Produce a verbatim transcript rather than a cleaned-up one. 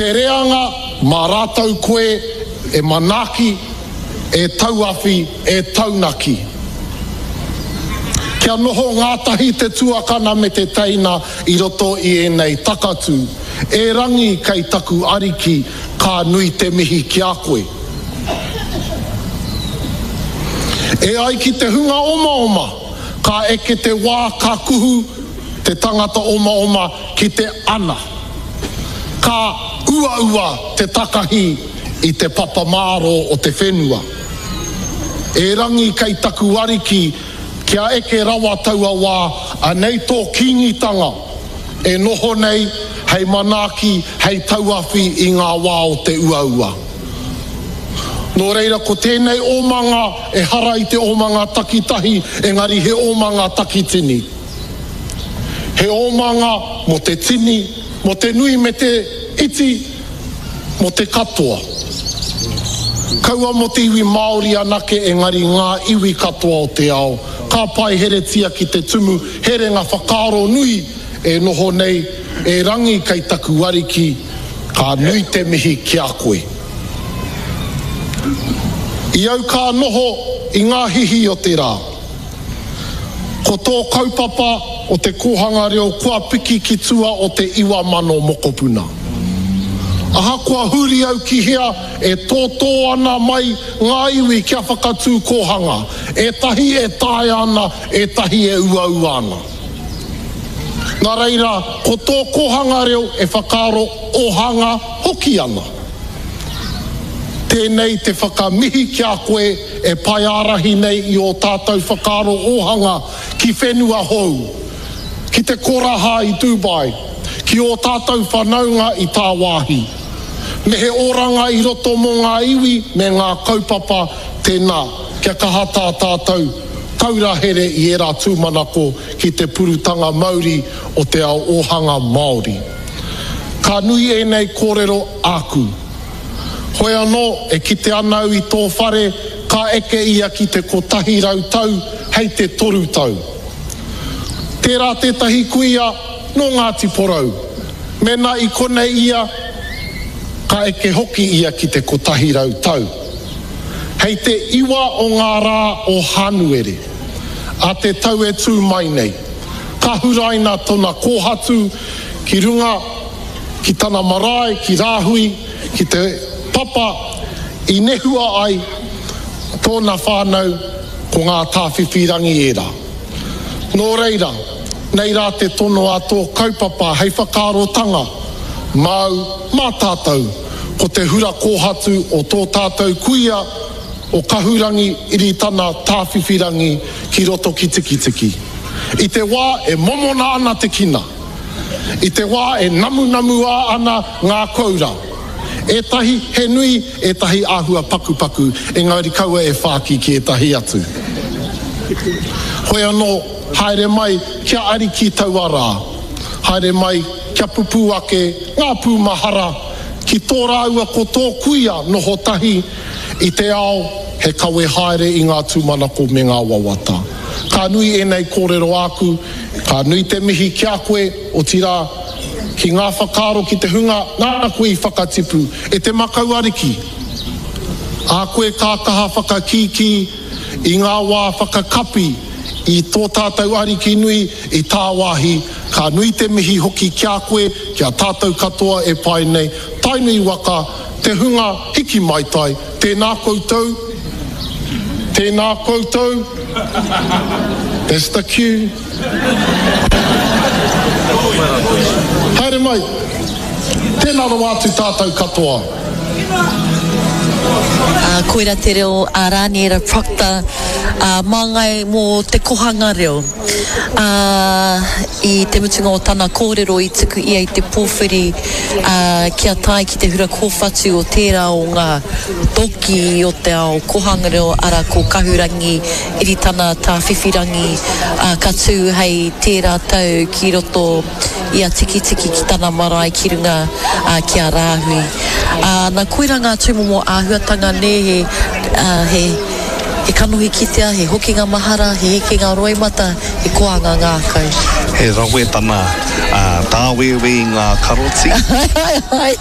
Te reanga mā rātou koe e manaaki, e tauawhi, e taunaki. Kia noho ngātahi te tuakana me te teina i roto i ēnei takatū. E Rangi kei taku Ariki, ka nui te mihi ki a koe. E ai ki te hunga omaoma, ka eke te wā ka kuhu te tangata omaoma ki te ana. Ka uaua te takahi i te papa mārō o te whenua. Erangi kei taku Ariki, kia eke rawa taua wā, anei tō Kīngitanga e noho nei hei manaaki, hei tauawhi i ngā wā o te uaua. Nō reira ko tēnei omanga ehara i te omanga takitahi engari he omanga takitini. He omanga mō te tini, mō te nui me te iti, mō te katoa. Kaua mō te iwi Māori anake engari ngā iwi katoa o te ao. Ka paiheretia ki te tumu herenga whakaaro nui e noho nei e Rangi kei taku ariki, ka nui te mihi ki a koe. I au ka noho i ngā hihi o te rā. Ko tō kaupapa o te kōhanga reo kua piki ki tua o te iwa mano mokopuna. Ahakoa huri au ki hea e tōtō ana mai ngā iwi kia whakatū kōhanga, ētahi e taea ana, ētahi e uaua ana. Nā reira, ko tō kōhanga reo e whakaaro ohanga hoki ana. Tēnei te whakamihi ki a koe e paeārahi nei i ō tātou whakaaro ōhanga ki whenua hou, ki te koraha i Dubai, ki ō tātou whanaunga i tāwāhi. Me he oranga i roto mō ngā iwi me ngā kaupapa, tēnā, kia kaha tā tātou taura here i ērā tūmanako ki te purutanga mauri o te ao ōhanga Māori. Ka nui ēnei kōrero āku. Hoi anō, e kite ana au i tō whare, ka eke ia ki te kotahi rau tau hei te toru tau. Tērā tētahi kuia nō Ngāti Porou. Mēnā i konei ia, ka eke hoki ia ki te kotahi rau tau. Hei te iwa o ngā rā o Hānuere, a te tau e tū mai nei, ka huraina tona kōhatu ki runga ki tana marae, ki Rāhui, ki te papa i nehua ai tōna whānau ko ngā tāwhiwhirangi ērā. Nō reira, nei rā te tono a tō kaupapa hei whakaarotanga māu, mā tātou, ko te hura kōhatu o tō tātou kuia o Kahurangi Iritana Tāwhiwhirangi ki roto ki Tikitiki. I te wā e momona ana te kina, i te wā e namunamuā ana ngā koura, ētahi he nui, ētahi āhua pakupaku, engari kaua e whāki ki ētahi atu. Hoi anō, haere mai kia ariki taua rā. Haere mai kia pupū ake ngā pūmahara ki tō rāua ko tō kuia noho tahi i te ao he kawe haere i ngā tūmanako me ngā wawata. Ka nui ēnei kōrero āku, ka nui te mihi ki a koe, otirā, ki ngā whakaaro ki te hunga nāna koe i whakatipu, e te makau ariki. A koe ka kaha whakakīkī i ngā wā whakakapi i tō tātou Ariki nui i tāwāhi, ka nui te mihi hoki ki a koe, ki a tātou katoa e pae nei, Tainui waka, te hunga hiki maitai, tēnā koutou, tēnā koutou, that's the cue. Haere mai, tēnā rawa atu tātou katoa. Ā, koira te reo a Rāniera Procter, ā, māngai mō te kohanga reo. Ā, i te mutunga o tana kōrero i tuku ia i te pōwhiri, ā, kia tae ki te hura kōwhatu o tērā o ngā toki o te ao kohanga reo, arā, ko Kahurangi Iritana Tāwhiwhirangi, ā, ka tū hei tērā tau ki roto i a Tikitiki ki tana marae ki runga, ā, ki a Rāhui. Ā, na koirā ngā tūmomo āhuatanga nē, he, ā, he, he kanohi kitea, he hokinga mahara, he hekenga roimata, he koanga ngākau. He rawe tana tāwēwē i ngā karoti. Ai, ai, ai.